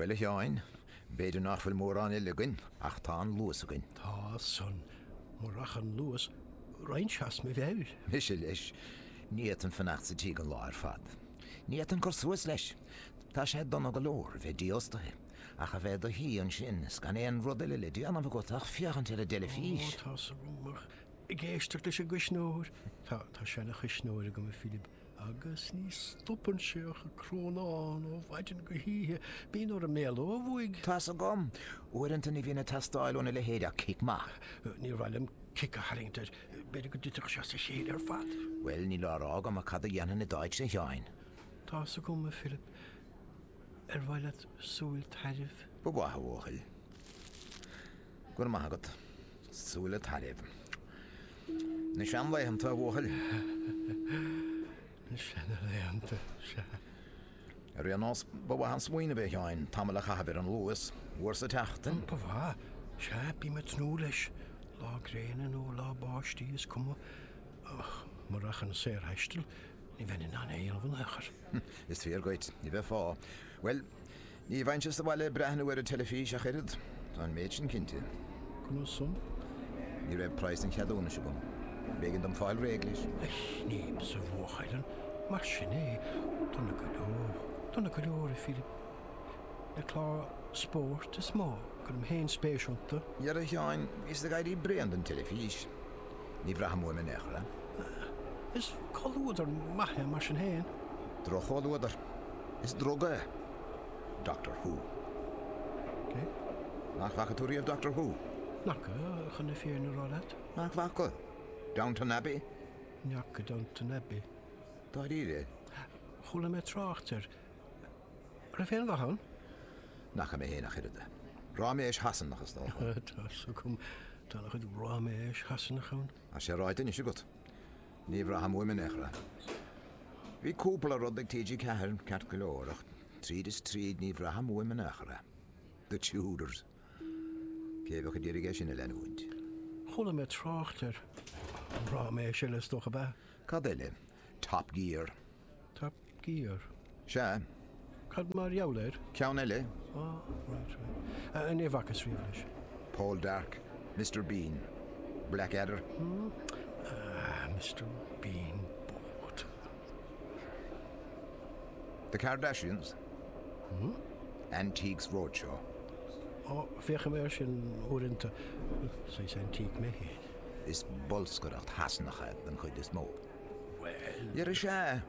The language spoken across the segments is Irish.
Bhuel, a Sheáin, b'fhéidir nach bhfuil mórán eile againn, ach tá an Luas againn. Tá san. Murach an Luas, raghainnse as mo mheabhair. Mise leis. Ní fhéadfainn fanacht sa tigh an lá ar fad. Ní fhéadfainn cur suas leis. Tá sé dona go leor a bheith dífhostaithe, ach a bheith i do shuí ansin is gan aon rud eile le déanamh agat ach féachaint ar an dteilifís. Ó, tá's agam, ach ag éisteacht leis an gcuisneoir. Tá, tá seana-chuisneoir agam, a Philib, agus ní stopann sé ach ag crónán ó mhaidin go hoíche. Bíonn orm éaló uaidh. Tá's agam. Uaireanta ní bhíonn ag teastáil óna leithéid ach cic maith. Níor mhaith liom cic a tharraingt air. B'fhéidir go dtitfeadh sé as a chéile ar fad. Bhuel, níl á rá agam ach cad a dhéanfainn i d'áitse, a Sheáin? Tá's agam, a Philib. Ar mhaith leat súil tairbh? Ba mhaith, a bhuachaill. Go raibh maith agat. Súile tairbh. Na seanlaethanta, a bhuachaill. Na seanlaethanta, sea. Ar aon nós, ba mhaith an smaoineamh é, a Sheáin, tamall a chaitheamh ar an Luas, uair sa tseachtain. Ba mhaith. Sea, bím ag tnúth leis. Lá gréine nó lá báistí, is cuma. Ach murach an saorthaisteal, ní bheinn in ann é a dhéanamh in aon chor. Is fíor dhuit, ní bheifeá. Bhuel, ní bheinnse sa bhaile ag breathnú ar an teilifís ach oiread, tá an méid sin cinnte. Conas san? Ní raibh praghas an cheadúnais agam. B'éigean dom fáil réidh leis. A shníomh sa bhuachaill, an mar sin é? Dona go leor, dona go leor, a Philib. Na cláir spóirt is mó a gcuirim féin spéis iontu. Dhera, a Sheáin, bhíos ag éirí bréan den teilifís. Ní bhraithim uaim in aon chor é. Is comhluadar maith é mar sin féin. Droch-chomhluadar. Is druga é. Doctor Who. Cé? Nach bhfaca tú riamh Doctor Who? N'fhaca, chun na fírinne a rá leat. Nach bhfaca? Downton Abbey? N'fhaca Downton Abbey. Dáiríre? Chuala mé trácht air. Raibh aon mhaith ann? N'fhaca mé féin ach oiread. Ráiméis Shasanach is dócha. Tá's agam. Tá ana chuid ráiméis Shasanach ann. Tá sé ráite anois agat. Ní bhraithim uaim in aon chor é. Bhí cúpla rud ag TG4 ceart go leor ach tríd is tríd ní bhraithim uaim in aon chor é. The Tudors. Cé a bheadh ag iarraidh é sin a leanúint? Chuala mé trácht air. Ráiméis eile is dócha ab ea? Cad eile? Top Gear. Top Gear? Sea. Cad mar gheall air? Ceann eile. Ah, right, right. Ní bhfacas riamh leis. Poldark, Mister Bean, Blackadder. Ah, Mister Bean bocht. The Kardashians. Antiques Roadshow. Ó, féachaim air sin uaireanta. Saghas antique mé féin. Is bolscaireacht Shasanach é den chuid is mó. Bhuel. Dhera sea.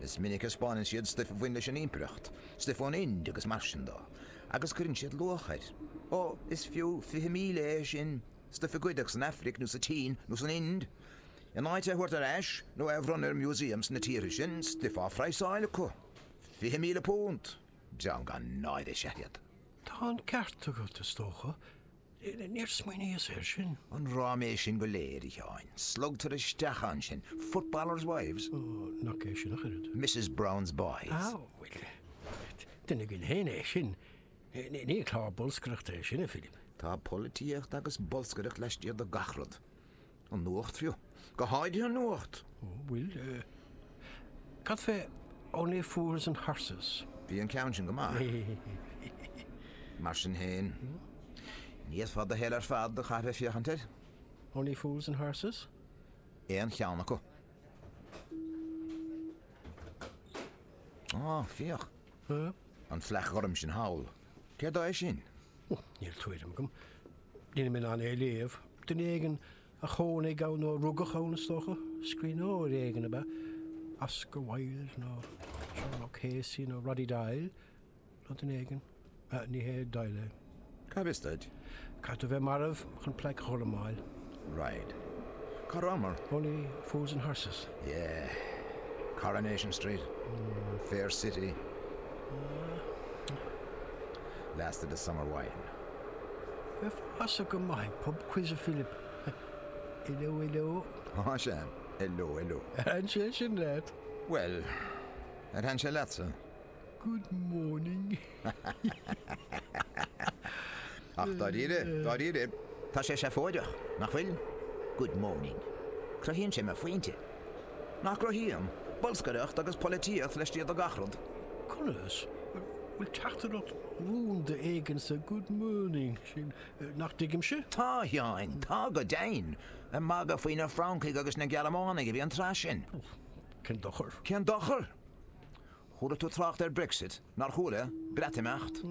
Is minic a 'spáineann siad stuif a bhain leis an impireacht, stuif ón Ind agus mar sin dó, agus cuireann siad luach air. Ó, is fiú 20,000 é sin, stuif a goideadh san Aifric nó sa tSín nó san Ind. In áit é a thabhairt ar ais nó é a bhronnadh ar museum sna tíortha sin, stuif á phraghsáil acu. £20,000! Dream gan náire is ea iad. Tá an ceart agat, is dócha. Níor smaoiníos air sin. An ráiméis sin go léir, a Sheáin. Slogtar isteach ann sinn. Footballers' wives. Ó, nach é sin ach oiread. Mrs Brown's Boys. Ah, bhuel, duine againn féin é sin. Ní clár bolscaireachta é sin, a Philib. Tá polaitíocht agus bolscaireacht laistiar de gach rud. An nuacht fiú. Go háirithe an nuacht! Ó, bhuel, cad fé Only Fools and Horses? Bhí an ceann sin go maith. Mar sin féin, ní fhéadfá do shaol ar fad a chaitheamh ag féachaint air. Only Fools and Horses? Aon cheann acu. Á, féach. An phlaic ghorm sin thall. Céard é sin? Níl tuairim agam. Nílim in ann é a léamh. Duine éigin a chónaigh ann nó a rugadh ann, is dócha. Scríbhneoir éigin, ab ea? Oscar Wilde nó Seán O'Casey nó Roddy Doyle nó duine éigin. Ní hé Doyle é. Cá bhfios duit? Caithfidh tú a bheith marbh chun plaic ghorm a fháil. Right. Cá rabhamar? Only Fools and Horses. Yeah. Coronation Street. Fair City. Last of the Summer Wine. Bheifeása go maith ag pub quiz a Philip. Hello, hello. Á sea. Hello, hello. Ar thaitin sé sin leat? Bhuel, ar thaitin sé leatsa? Good morning. Ach dáiríre, dáiríre, tá sé seafóideach, nach bhfuil? Good morning. Cruthaíonn sé mo phointe. Nach gcruthaíonn? Bolscaireacht agus polaitíocht laistiar de gach rud. Conas? Bhfuil teachtaireacht rúnda éigin sa 'good morning' sin nach dtuigimse? Tá, a Sheáin, tá go deimhin. Ag magadh faoi na Francaigh agus na Gearmánaigh a bhí an tráth sin. Cén dochar? Cén dochar? Chuala tú trácht ar Brexit, nár chuala? Breatimeacht.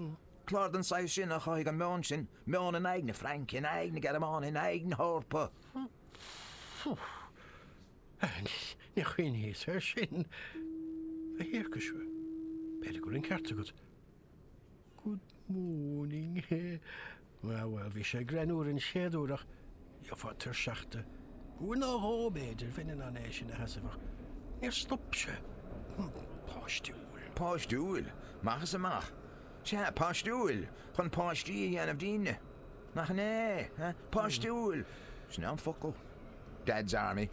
Clár den saghas sin a chothaigh an meon sin, meon in aghaidh na Fraince, in aghaidh na Gearmáine, in aghaidh na hEorpa. Níor chuimhníos air sin. A thiarcais, b'fhéidir go bhfuil an ceart agat. Good morning. Bhuel, bhí sé greannmhar an chéad uair ach gheofá tuirseach de. Uair nó dhó, b'fhéidir, bheinn in ann é sin a sheasamh ach níor stop sé. Páistiúil. Páistiúil? Amach is amach. Sea, páistiúil! Chun páistí a dhéanamh dínne. Nach in é? Páistiúil! Sin é an focal. Dad's Army.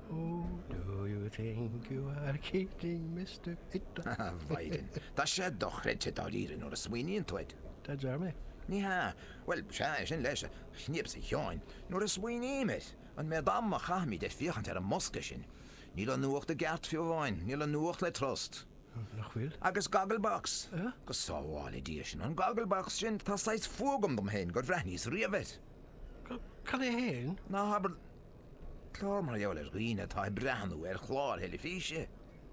Oh, do you think you are kidding, Mister Hitler? A Mhaighdean, tá sé dochreidte dáiríre nuair a smaoiníonn tú air. Dad's Army. Ní hea. Bhuel, sea, sin leis, a chniaps a Sheáin. Nuair a smaoiním air, an méad ama a chaithimid ag féachaint ar an mbosca sin. Níl an nuacht i gceart fiú amháin, níl an nuacht le trust. Nach bhfuil? Agus Gogglebox! Go sábhála Dia sinn, an Gogglebox sin, tá saghas fuath agam dom féin gur bhreathnaíos riamh air. Cad é féin? Ná habair clár mar gheall ar dhaoine atá ag breathnú ar chláir theilifíse.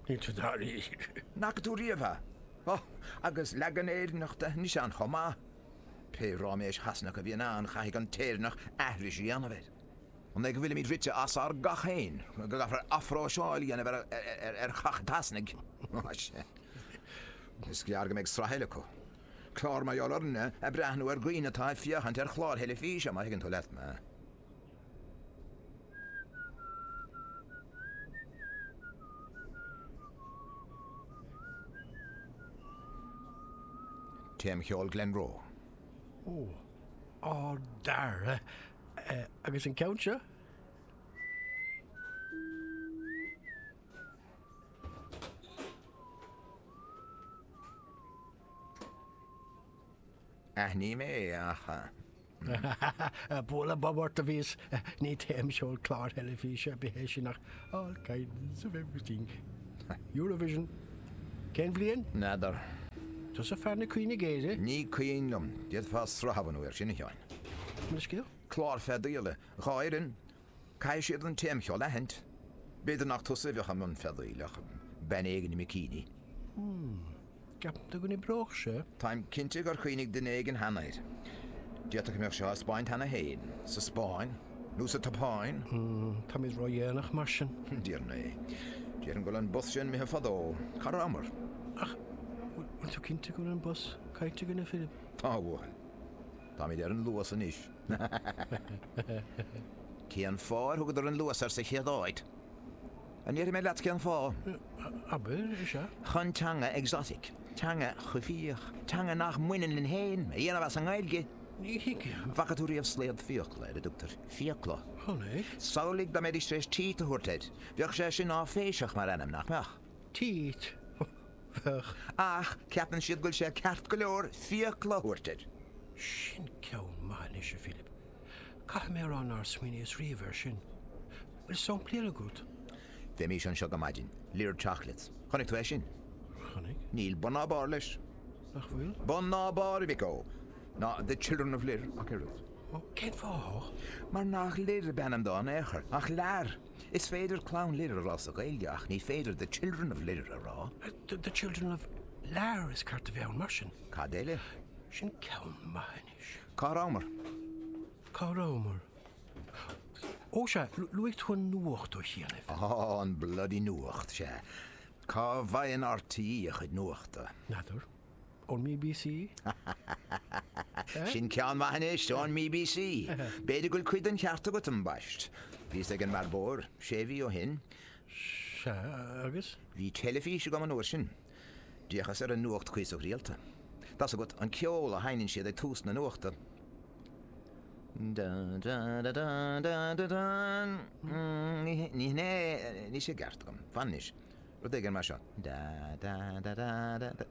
Níl tú dáiríre. An bhfaca tú riamh é? Ó, agus leagan Éireannach de anois ann chomh maith. Pé ráiméis Shasanach a bhíonn ann, caithfidh an tÉireannach aithris a dhéanamh air. An é go bhfuilimid rite as ár gcac féin, go gcaithfear athphróiseáil a dhéanamh ar chac an tSasanaigh? Sea. Is gearr go mbeidh sraith eile acu. Clár mar gheall orainne ag breathnú ar dhaoine atá ag féachaint ar chláir theilifíse, má thuigeann tú leat mé. Téamcheol Glenroe. Ó, ár dTaire. Agus an ceann seo? Aithním é, ach. Bualadh bob ort a bhíos. Ní téamcheol cláir theilifíse ar bith é sin ach all kinds of everything. Eurovision. Cén bhliain? N'fheadar. Tusa fear na cuimhne géire. Ní cuimhin liom. D'fhéadfá sraith a bhunú air sin, a Sheáin. An scéal? Clár feadaíola. Fhoireann. Caithfidh siad an téamcheol a aithint. B'fhéidir nach tusa a bheadh i mbun feadaíl ach bean éigin i mbikini. Hmm. Ceapann tú go n-oibreodh sé? Táim cinnte gur chuimhnigh duine éigin cheana air. D'fhéadfadh go mbeadh sé á 'spáint cheana féin. Sa Spáinn. Nó sa tSeapáin. Hmm. Táimid ródhéanach mar sin. Déarfainn é. Déarfainn go bhfuil an bus sin imithe fadó. Cá rabhamar? Ach bhfuil tú cinnte go bhfuil an bus caillte againn, a Philib? Tá, a bhuachaill. Táimid ar an Luas anois. Cén fáth ar thugadar an Luas air sa chéad áit? An ndéarfaidh mé leat cén fáth? Abair, is ea. Chun teanga exotic, teanga choimhthíoch, teanga nach mbaineann linn féin, a dhéanamh as an nGaeilge. Ní thuigim. An bhfaca tú riamh slaod fiacla, ar a dtugtar fiacla? Chonaic. Samhlaigh dá mbeidís tar éis teeth a thabhairt air. Bheadh sé sin áiféiseach mar ainm, nach mbeadh? Teeth. Bheadh. Ach ceapann siad go bhfuil sé ceart go leor fiacla a thabhairt air. Sin ceann maith anois, a Philib. Caithfidh mé a rá nár smaoiníos riamh air sin. Bhfuil samplaí eile agat? Bheimis anseo go maidin. Lir Chocolates. Chonaic tú é sin? Chonaic. Níl bun ná barr leis. Nach bhfuil? Bun ná barr, a mhic ó. Ná The Children of Lir ach oiread. Ó, cén fáth? Mar nach Lir ab ainm dó in aon chor, ach Lear. Is féidir Clann Lir a rá sa Ghaeilge ach ní féidir The Children of Lir a rá. The Children of Lear is ceart a bheith ann mar sin. Cad eile? Sin ceann maith anois. Cá rabhamar? Cá rabhamar? Ó sea, luaigh tú an nuacht ó chianaibh. Á, an bloody nuacht, sea. Cá bhfaigheann RTÉ a chuid nuachta? N'fheadar. Ón mBBC? Sin ceann maith anois, ón mBBC. B'fhéidir go bhfuil cuid den cheart agat, ambaist. Bhíos ag an mbearbóir sé mhí ó shin. Sea, agus? Bhí teilifís agam an uair sin. D'fhéachas ar an nuacht cuíosach rialta. Tá's agat, an ceol a sheinneann siad ag tús na nuachta. Da da da da da da da. Ní hin é, níl sé i gceart agam. Fan anois. Rud éigin mar seo. Da da da da da da.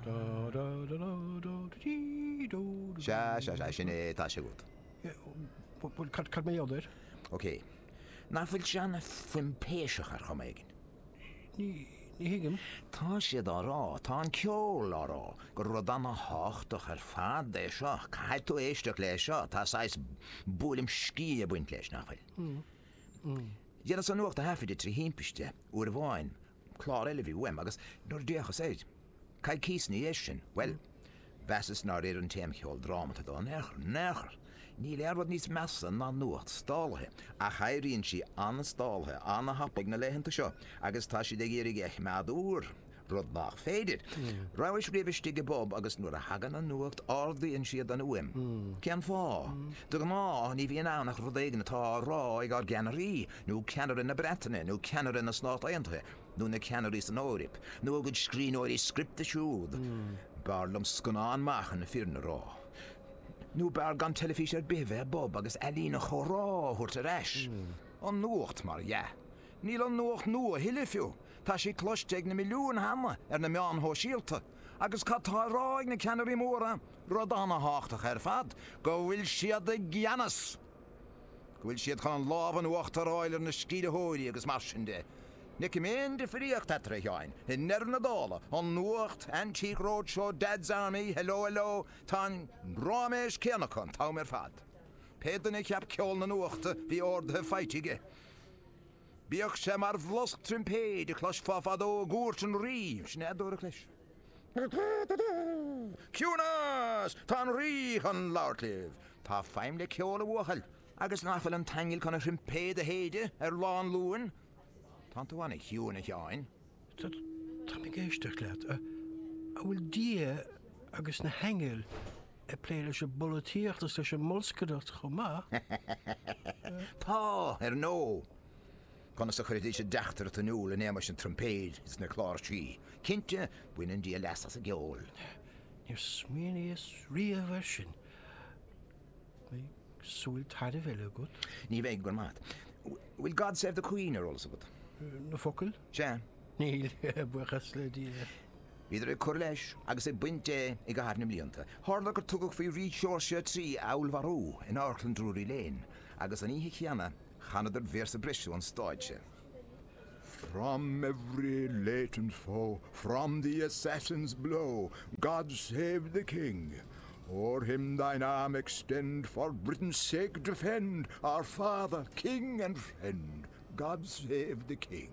Da da da da da dí dó dó. Sea, sea, sea, sin é, tá sé agat. Bhuel, cad, cad mar gheall air? Ok. Nach bhfuil sé an-phoimpéiseach ar chuma éigin? Ní, Ní thuigim. Tá siad á rá, tá an ceol á rá, gur rud ana-thábhachtach ar fad é seo, caithfidh tú éisteacht le seo, tá saghas buaileam sciath ag baint leis, nach bhfuil? Dheineas an nuacht a thaifeadadh trí thimpiste, uair amháin, clár eile a bhí uaim, agus nuair a d'fhéachas air, coicíos ina dhiaidh sin, bhuel, mheasas nár oir an téamcheol drámata dó in aon chor, in aon chor. Níl aon rud níos measa ná nuacht stálaithe, ach éiríonn sí an-stálaithe, an-thapaidh na laethanta seo agus tá siad ag iarraidh é a choimeád úr, rud nach féidir. Rabhais riamh istigh i bpub agus nuair a thagann an nuacht ardaíonn siad an fhuaim. Cén fáth? De ghnáth ní bhíonn ann ach rud éigin atá á rá ag ár gceannairí, nó ceannaire na Breataine, nó ceannaire na Stát Aontaithe, nó na ceannairí san Eoraip, nó a gcuid scríbhneoirí scripte siúd. B'fhearr liom scannán maith chun na fírinne a rá. Nó b'fhearr gan teilifís ar bith a bheith i bpub agus ealaín an chomhrá a thabhairt ar ais. An nuacht, mar dhea. Níl an nuacht nua a thuilleadh fiú. Tá sí cloiste ag na milliúin cheana ar na meáin shóisialta. Agus cad tá á rá ag na ceannairí móra? Rud ana-thábhachtach ar fad, go bhfuil siad i gceannas! Go bhfuil siad chun an lámh in uachtar a fháil ar na sceimhlitheoirí agus mar sin de. Ní fheicim aon difríocht eatarthu, a Sheáin. I ndeireadh na dála, an nuacht, Antique Roadshow, Dad's Army, Hello Hello, tá an ráiméis céanna acu an t-am ar fad. Pé duine a cheap ceol na nuachta, bhí orduithe faighte aige. Bíodh sé mar bhlosc troimpéid a chloisfeá fadó i gcúirt an rí, sin é a dúradh leis. Ciúnas! Tá an rí chun labhairt libh. Tá feidhm le ceol, a bhuachaill. Agus nach bhfuil an t-aingeal chun a throimpéad a shéideadh ar lá an Luain? Tánn tú ana-chiúin, a Sheáin. Táim ag éisteacht leat. An bhfuil Dia agus na haingil ag plé leis an bpolaitíocht is leis an mbolscaireacht chomh maith? Tá, ar ndóigh. Conas a chuirfidís a dteachtaireacht in iúl in éagmais na troimpéid is na cláirsí? Cinnte, baineann Dia leas as an gceol. Níor smaoiníos riamh air sin. Beidh súil tairbh eile agat. Ní bheidh, go raibh maith agat. Bhfuil God Save the Queen ar eolas agat? Na focail? Sea. Níl, buíochas le Dia. Bhíodar ag cur leis agus ag baint de i gcaitheamh na mblianta. Tharla gur tugadh faoi Rí Seoirse a Trí a fheallmharú in Amharclann Drury Lane agus an oíche chéanna chanadar véarsa breise ón stáitse. From every latent foe, from the assassin's blow, God save the King! O'er him thine arm extend, for Britain's sake defend, our father, king and friend, God save the King!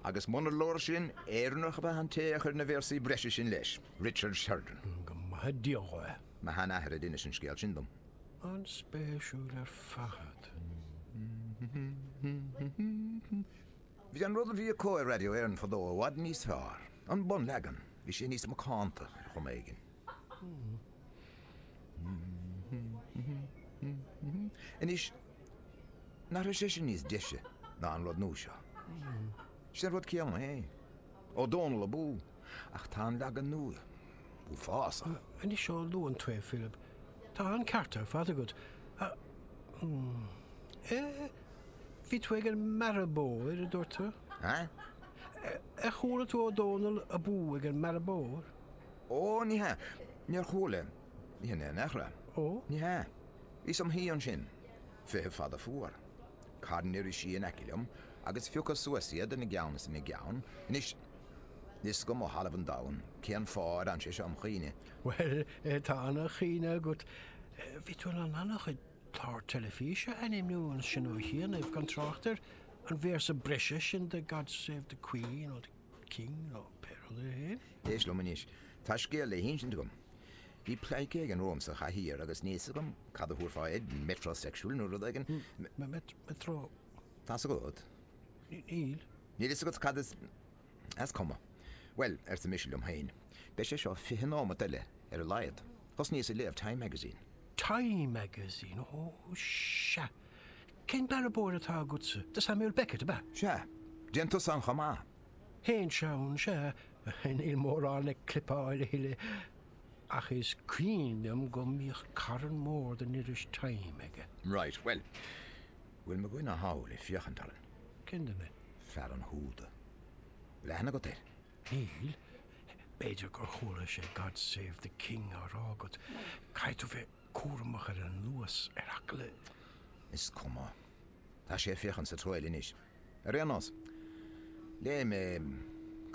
Agus munar leor sin, Éireannach ab ea an té a chuir na véarsaí breise sin leis, Richard Sheridan. Go maithe Dia dhó é. Mo sheanathair a d'inis an scéal sin dom. An-spéisiúil ar fad. Bhí an rud a bhí acu ar Radio Éireann fadó i bhfad níos fearr. An bunleagan. Bhí sé níos macánta, ar chuma éigin. Anois, nach raibh sé sin níos deise ná an rud nua seo? Sin an rud céanna é. Ó Dónall abú! Ach tá an leagan nua uafásach. Anois ó luann tú é, Philip, tá an ceart ar fad agat. Eh, bhí tú ag an mBearbóir, a dúirt tú? Eh? Ar chuala tú Ó Dónall abú ag an mBearbóir? Ó, ní hea. Níor chuala. Ní hin é in aon chor. Ó? Ní hea. Bhíos im shuí ansin. Feitheamh fada fuar. Carn irisí in aice liom, agus phiocas suas iad ina gceann is ina gceann. Anois, níl 'fhios agam ó thalamh an domhain cén fáth ar fhan sé seo im chuimhne. Bhuel, tá ana-chuimhne agat. Bhí tú in ann ana-chuid clár teilifíse a ainmniú ansin ó chianaibh, gan trácht ar an véarsa breise sin de God Save the Queen nó the King nó pé rud é féin. Éist liom anois, tá scéal le hinsint agam. Bhí pleidhce éigin romham sa chathaoir agus níl 'fhios agam cad a thabharfá air, metrosexual nó rud éigin. Metro. Tá's agat? Níl. Níl 'fhios agat cad is. Is cuma. Bhuel, arsa mise liom féin, beidh sé seo 20 nóimeat eile ar a laghad. Thosnaíos ag léamh Time Magazine. Time Magazine, ó sea. Cén bearbóir atá agatsa? De Samuel Beckett, ab ea? Sea. Dtéann tusa ann chomh maith? Théinnse ann, sea. Níl mórán ag clipeáil a thuilleadh. Ach is cuimhin liom go mbíodh carn mór den iris Time aige. Right, bhuel, bhfuil mo dhuine thall ag féachaint orainn? Cén duine? Fear an húda. Bhfuil aithne agat air? Níl. B'fhéidir gur chuala sé God Save the King á rá agat. Caithfidh tú bheith cúramach ar an Luas, ar eagla. Is cuma. Tá sé ag féachaint sa treo eile anois. Ar aon nós, léigh mé.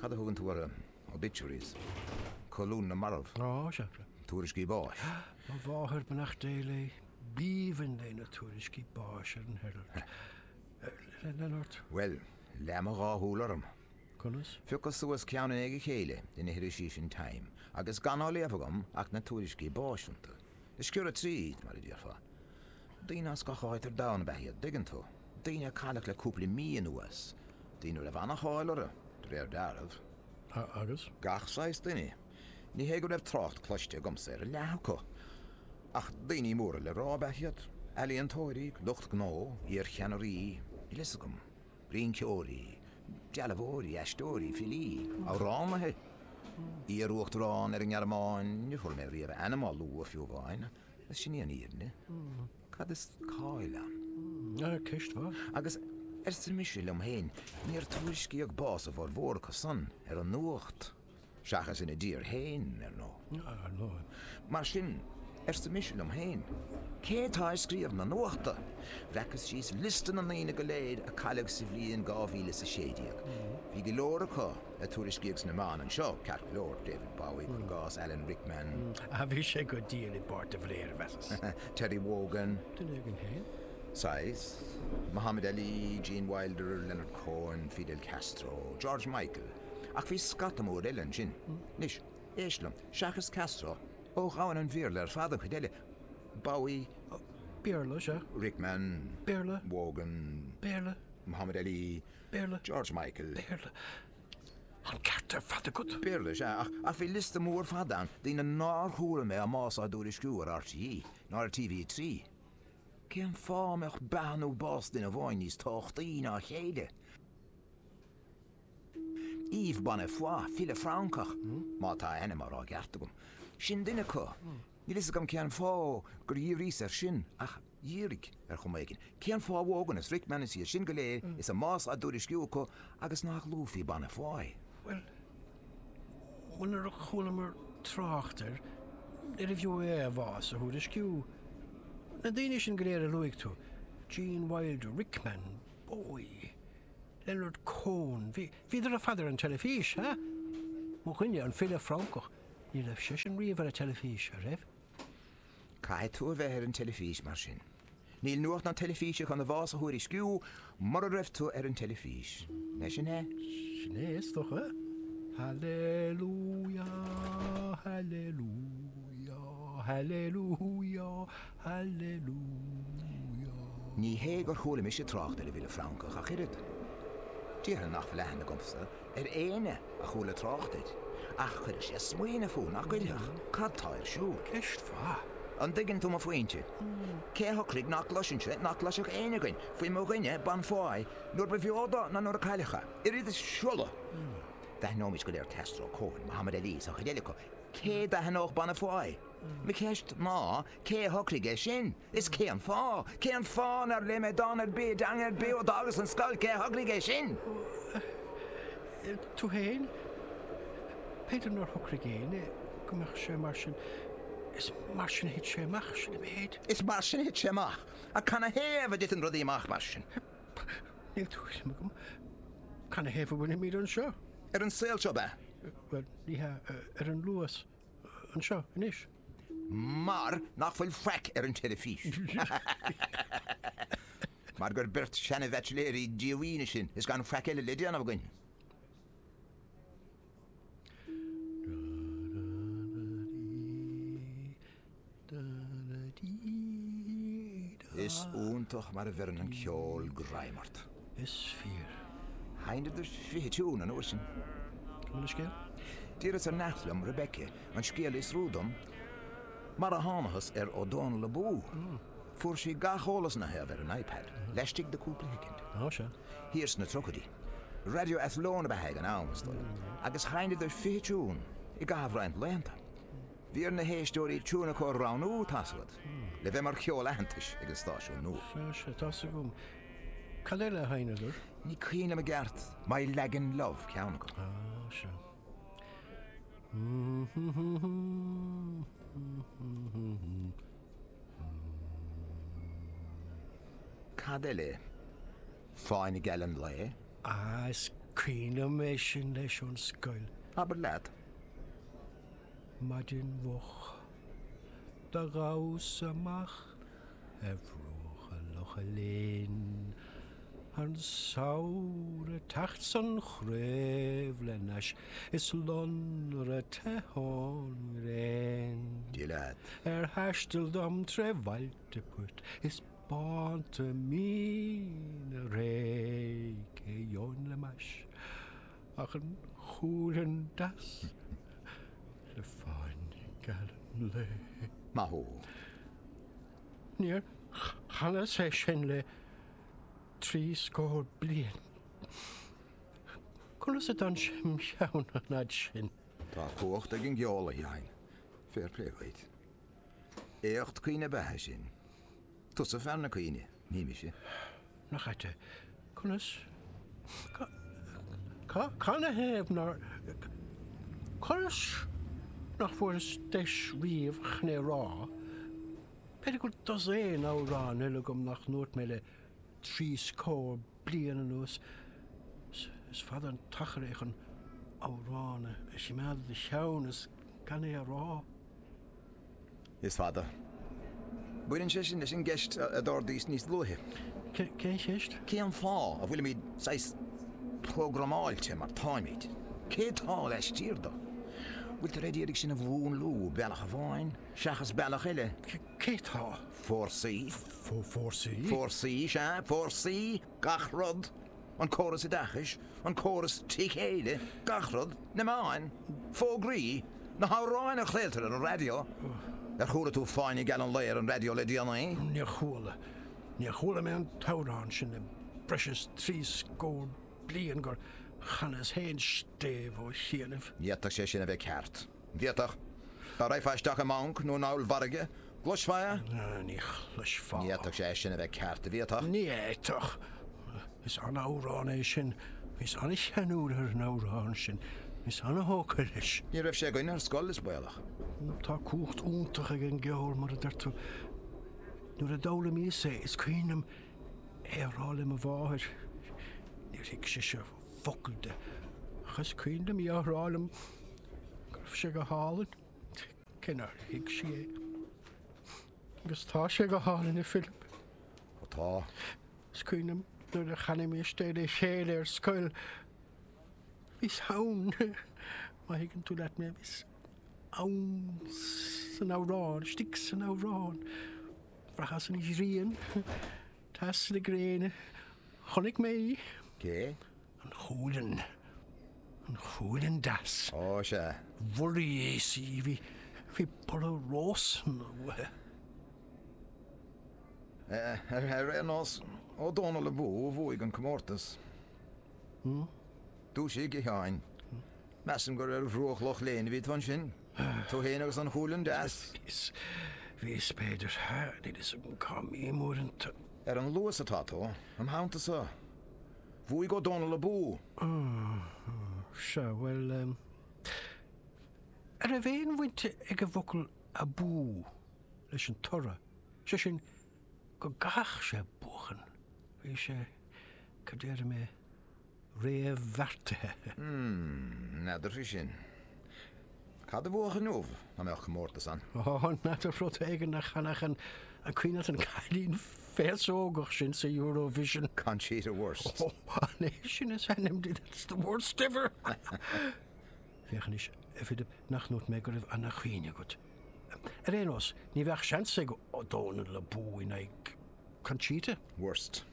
Cad a thugann tú orthu? Obituaries. Colún na marbh. Á, sea, sea. Tuairiscí báis. Mo mháthair, beannacht Dé léi, b'aoibhinn léi na tuairiscí báis ar an Herald. Lean ort. Bhuel, leath mo dhá shúil orm. Conas? Phiocas suas ceann i ndiaidh a chéile de na hirisí sin Time agus gan á léamh agam ach na tuairiscí báis iontu. Ag sciorradh tríd, mar a déarfá. Daoine as gach áit ar domhan ab ea iad, dtuigeann tú. Daoine a cailleadh le cúpla mí anuas. Daoine a raibh an-cháil orthu, de réir dealraimh. Agus? Gach saghas duine. Ní hé go raibh trácht cloiste agamsa ar a leath acu. Ach daoine móra le rá ab ea iad. Ealaíontóirí, lucht gnó, iarcheannairí, níl fhios agam. Rinceoirí, dealbhóirí, aisteoirí, filí, amhránaithe. Iar-uachtarán ar an nGearmáin, níor chuala mé riamh a ainm á lua fiú amháin, agus sin í an fhírinne. Cad is cáil ann? Ceist mhaith. Agus, arsa mise liom féin, níor tuairiscíodh bás a bhformhór acu san ar an nuacht. Seachas ina dtír féin, ar ndóigh. Ar ndóigh. Mar sin, arsa mise liom féin, cé atá ag scríobh na nuachta? Bhreacas síos liosta na ndaoine go léir a cailleadh sa bhliain 2016. Bhí go leor acu a tuairiscíodh sna meáin anseo, ceart go leor, David Bowie, cuir i gcás, Alan Rickman. Ah, bhí sé go diail i bpáirt de Bhléir, mheasas. Terry Wogan. Duine éigin féin. Saghas. Muhammad Ali, Gene Wilder, Leonard Cohen, Fidel Castro, George Michael. Ach bhí scata mór eile ansin. Anois, éist liom, seachas Castro, ó dhomhan an Bhéarla ar fad an chuid eile, Bowie, Béarla, sea. Rickman, Béarla. Wogan, Béarla. Muhammad Ali, Béarla. George Michael. Béarla. An ceart ar fad agat. Béarla, sea, ach, ach bhí liosta mór fada ann, daoine nár chuala mé a mbás á dtuairisciú ar RTÉ, ná ar TV3. Cén fáth a mbeadh beatha nó bás duine amháin níos tábhachtaí ná a chéile? Yves Bonnefoy, file Francach, má tá a ainm á rá i gceart agam. Sin duine acu. Níl fhios agam cén fáth gur dhíríos air sin, ach dhírigh, ar chuma éigin. Cén fáth Wogan is Rickman is iad sin go léir is a mbás á dtuairisciú acu agus nach luafaí Bonnefoy? Bhuel, munar chualamar trácht air, níorbh fhiú é a bhás a thuairisciú. Na daoine sin go léir a luaigh tú, Gene Wilder, Rickman, Bowie, Leonard Cohen, bhí, bhíodar ar fad ar an teilifís, ha? Mo dhuine, an file Francach, ní raibh seisean riamh ar an teilifís, a raibh? Caithfidh tú a bheith ar an teilifís mar sin. Níl nuacht na teilifíse chun do bhás a thuairisciú mura raibh tú ar an teilifís. Nach sin é? Sin é, is dócha. Hallelujah, hallelujah, hallelujah, Hallelujah. Ní hé gur chuala mise trácht ar an bhfile Francach ach oiread. Déarfainn nach bhfuil aithne agamsa ar éinne a chuala trácht air. Ach chuirfeadh sé smaoineamh thú, nach gcuirfeadh? Cad tá ar siúl? Ceist mhaith. An dtuigeann tú mo phointe? Cé a shocraigh nach gcloisfinnse, nach gcloisfeadh éinne againn, faoi mo dhuine, Bonnefoy, nuair ba bheo dó ná nuair a cailleadh é? Oiread is siolla! D'aithneoimis go léir Castro, Cohen, Muhammad Ali is an chuid eile acu. Cé d'aithneodh Bonnefoy? Mo cheist ná, cé a shocraigh é sin? Is cén fáth? Cén fáth nár léigh mé dán ar bith i dteanga ar bith ó d'fhágas an scoil? Cé a shocraigh é sin? Tú féin? B'fhéidir nár shocraigh éinne go mbeadh sé mar sin. Is mar sin a thit sé amach, sin an méid. Is mar sin a thit sé amach. Ach canathaobh a dtiteann rudaí amach mar sin? Níl tuairim agam. Canathaobh a bhfuilimid anseo? Ar an saol seo, ab ea? Bhuel, ní hea, ar an Luas. Anseo, anois. Mar nach bhfuil faic ar an teilifís. Mar gur beirt seana-bhaitsiléirí díomhaoine sinn is gan faic eile le déanamh againn. Is iontach mar a bheireann an ceol greim ort. Is fíor. Sheinneadar 20 tiún an uair sin. An bhfuil scéal? D'iarras ar neacht liom, Rebecca, an scéal a fhiosrú dom, mar a thánathas ar Ó Dónaill Abú. Fuair sí gach eolas ina thaobh ar an iPad, laistigh de cúpla shoicind. Á, sea. Thiar sna tríochaidí. Raidió Athlone ab ea ag an am, is dóigh liom, agus sheinneadar 20 tiún i gcaitheamh roinnt laethanta. Bhí ar na héisteoirí tiún acu a roghnú, tá's agat, le bheith mar cheol aitheantais ag an stáisiún nua. Sea, sea, tá's agam. Cad eile a sheinneadar? Ní cuimhin liom i gceart. My Lagan Love ceann acu. Ah, sea. Cad eile? Fáinne Geal an Lae? Ah, is. cuimhin liom é sin leis ón scoil. Abair leat. Maidin mhoch do ghabhas amach ar bhruacha Locha Léin, An samhradh ag teacht 's an chraobh le n-ais is lonradh te ón ngréin. Dia leat. Ar thaisteal dom tré bhailte poirt is bánta míne réidh cé gheobhainn le m'ais ach an cualann deas le fáinne geal an lae. Maith thú. Níor chanas é sin le 60 bliain. Conas a d'fhan sé im cheann an fhad sin? Tá cumhacht ag an gceol, a Sheáin. Fair play dhuit. Éacht cuimhne ab ea é sin. Tusa fear na cuimhne, ní mise. Nach ait é? Conas? Canathaobh nár. Conas nach bhfuaireas deis riamh chun é a rá? B'fhéidir go bhfuil dosaen amhrán eile agam nach ndúirt mé le 30 bliain anuas. Is fada an t-achar é chun amhrán a choimeád i do cheann is gan é a rá. Is fada. Baineann sé sin leis an gceist a d'ardaís níos luaithe. Cén cheist? Cén fáth a bhfuilimid saghas programáilte mar táimid? Cé tá laistiar de? Bhfuiltear ag iarraidh sinn a mhúnlú bealach amháin seachas bealach eile? Cé tá? Fórsaí. Fórsaí? Fórsaí, sea, fórsaí! Gach rud! An córas oideachais, an córas trí chéile, gach rud, na meáin, fógraí, na hamhráin a chraoltar ar an raidió. Ar chuala tú Fáinne Geal an Lae ar an raidió le déanaí? Níor chuala. Níor chuala mé an t-amhrán sin le breis is 30 bliain gur chanas féin stéibh ó chianaibh. Ní fhéadfadh sé sin a bheith ceart. Bhféadfadh. Dá raghfá isteach i mbanc nó in ollmhargadh, gcloisfeá é? Ní chloisfeá. Ní fhéadfadh sé sin a bheith ceart, an bhféadfadh? Ní fhéadfadh. Is an-amhrán é sin. Bhíos an-cheanúil ar an amhrán sin. Bhíos an-thógtha leis. Ní raibh sé againn ar scoil, is baolach. Tá cumhacht iontach ag an gceol, mar a deir tú. Nuair a d'fhoghlaimíos é, is cuimhin liom é a rá le mo mháthair. Níor thuig sise focal de. Ach is cuimhin liom í á rá liom go raibh sé go hálainn. Cé nár thuig sí é. Agus tá sé go hálainn, a Philip. Ó tá. Is cuimhin liom nuair a chanaimis é le chéile ar scoil. Bhíos ann, má thuigeann tú leat mé, bhíos ann san amhrán, istigh san amhrán. Bhraitheas an ghrian, teas na gréine. Chonaic mé í. Cé? An Chualann. An Chualann Deas. Ó, sea. Bholaíos í. Bhí, bhí boladh rósanna uaithi. Ar aon nós, Ó Dónall Abú a bhuaigh an comórtas. Dúisigh, a Sheáin. Measaim gur ar bhruach Loch Léin a bhí tú ansin. Tú féin agus an Chualann Deas. Bhíos, bhíos, b'fhéidir. Níl fhios agam cá mbím uaireanta. Ar an Luas atá tú, im theannta-sa. Bhuaigh Ó Dónall Abú! Sea, bhuel, an raibh aon bhaint ag an bhfocal abú leis an toradh? Sé sin, go gcaithfeadh sé buachan. Bhí sé, cad déarfaidh mé, réamhbheartaithe. Hmm, n'fheadar faoi sin. Cad a bhuafadh inniu, dá mbeadh comórtas ann? Ó, n'fheadar, rud éigin a chanfadh an, an cuimhin leat an cailín féasógach sin sa Eurovision? Conchita Wurst. Ó, an é sin is ainm di? That's the worst ever! Féach anois, a Philip, nach ndúirt mé go raibh ana-chuimhne agat. Ar aon nós, ní bheadh seans ag Ó Dónall Abú in aghaidh Conchita. Wurst.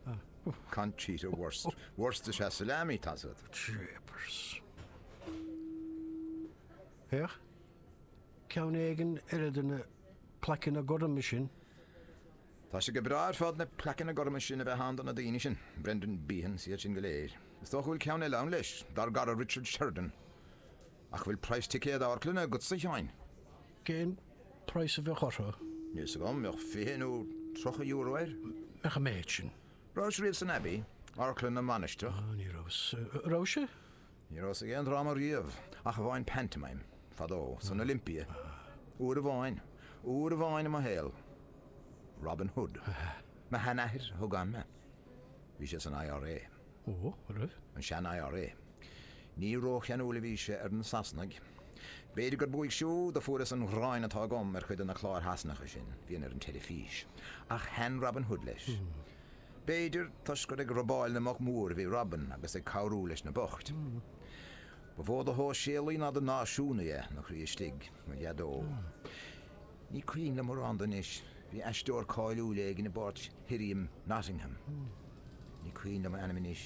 Conchita Wurst. Wurst is ea salami, tá's agat. Jeepers. Féach, ceann éigin eile de na plaiceanna gorma sin. Tá sé go breá ar fad na plaiceanna gorma sin a bheith ann do na daoine sin, Brendan Behan is iad sin go léir. Is dócha go bhfuil ceann eile ann leis, dár gcara Richard Sheridan. Ach bhfuil praghas ticéad amharclainne agatsa, a Sheáin? Cén praghas a bheadh orthu? Níl 's agam, bheadh €20 nó €30 air. Mbeadh an méid sin? Rabhais riamh san Abbey, amharclann na Mainistreach? Ní rabhas. Rabhais-se? Ní rabhas ag aon dráma riamh, ach amháin pantomime, fadó, san Olympia. Uair amháin. Uair amháin i mo shaol. Robin Hood. Mo sheanathair a thug ann mé. Bhí sé san IRA. Ó, an raibh? An sean-IRA. Ní rócheanúil a bhí sé ar na Sasanaigh. B'fhéidir gurb uaidh siúd a fuaireas an ghráin atá agam ar chuid de na cláir Shasanacha sin a bhíonn ar an teilifís. Ach thaitn Robin Hood leis. B'fhéidir toisc gur ag robáil na mboc mór a bhí Robin agus ag cabhrú leis na boicht. Ba mhó de shóisialaí ná de náisiúnaí é ina chroí istigh, mo dhaideo. Ní cuimhin liom mórán de anois. Bhí aisteoir cáiliúil éigin i bpáirt Shirriam Nottingham. Ní cuimhin liom a ainm anois.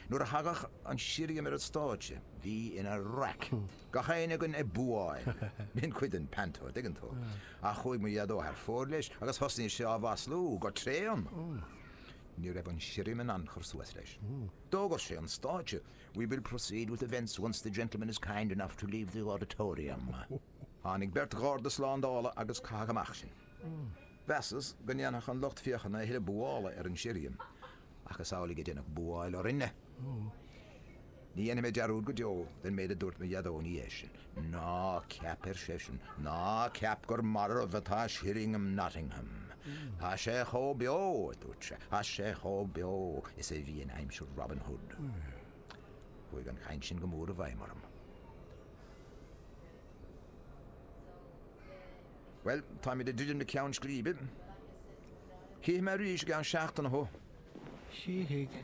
Nuair a thagadh an Sirriam ar an stáitse, bhí ina raic. Gach éinne againn ag búáil. B'in cuid den panto, an dtuigeann tú. Ach chuaigh mo dhaideo thar fóir leis agus thosnaigh sé á mhaslú go tréan. Ní raibh an Sirriam in ann cur suas leis. D'fhógair sé an stáitse, We will proceed with events once the gentleman is kind enough to leave the auditorium. Tháinig beirt gharda slándála agus caitheadh amach sinn. Mheasas go ndéanfadh an lucht féachana a thuilleadh búála ar an Sirriam, ach is amhlaidh a deineadh búáil orainne. Ní dhéanfaidh mé dearúd go deo den méid a dúirt mo dhaideo ina dhiaidh sin. Ná ceap, ar seisean, ná ceap gur marbh atá Shirringham Nottingham. Tá sé chomh beo, a dúirt sé, tá sé chomh beo is a bhí in aimsir Robin Hood. Chuaigh an chaint sin go mór i bhfeidhm orm. Bhuel, táimid ag druidim le ceann scríbe. Chífidh mé arís i gceann seachtaine thú. Chífidh.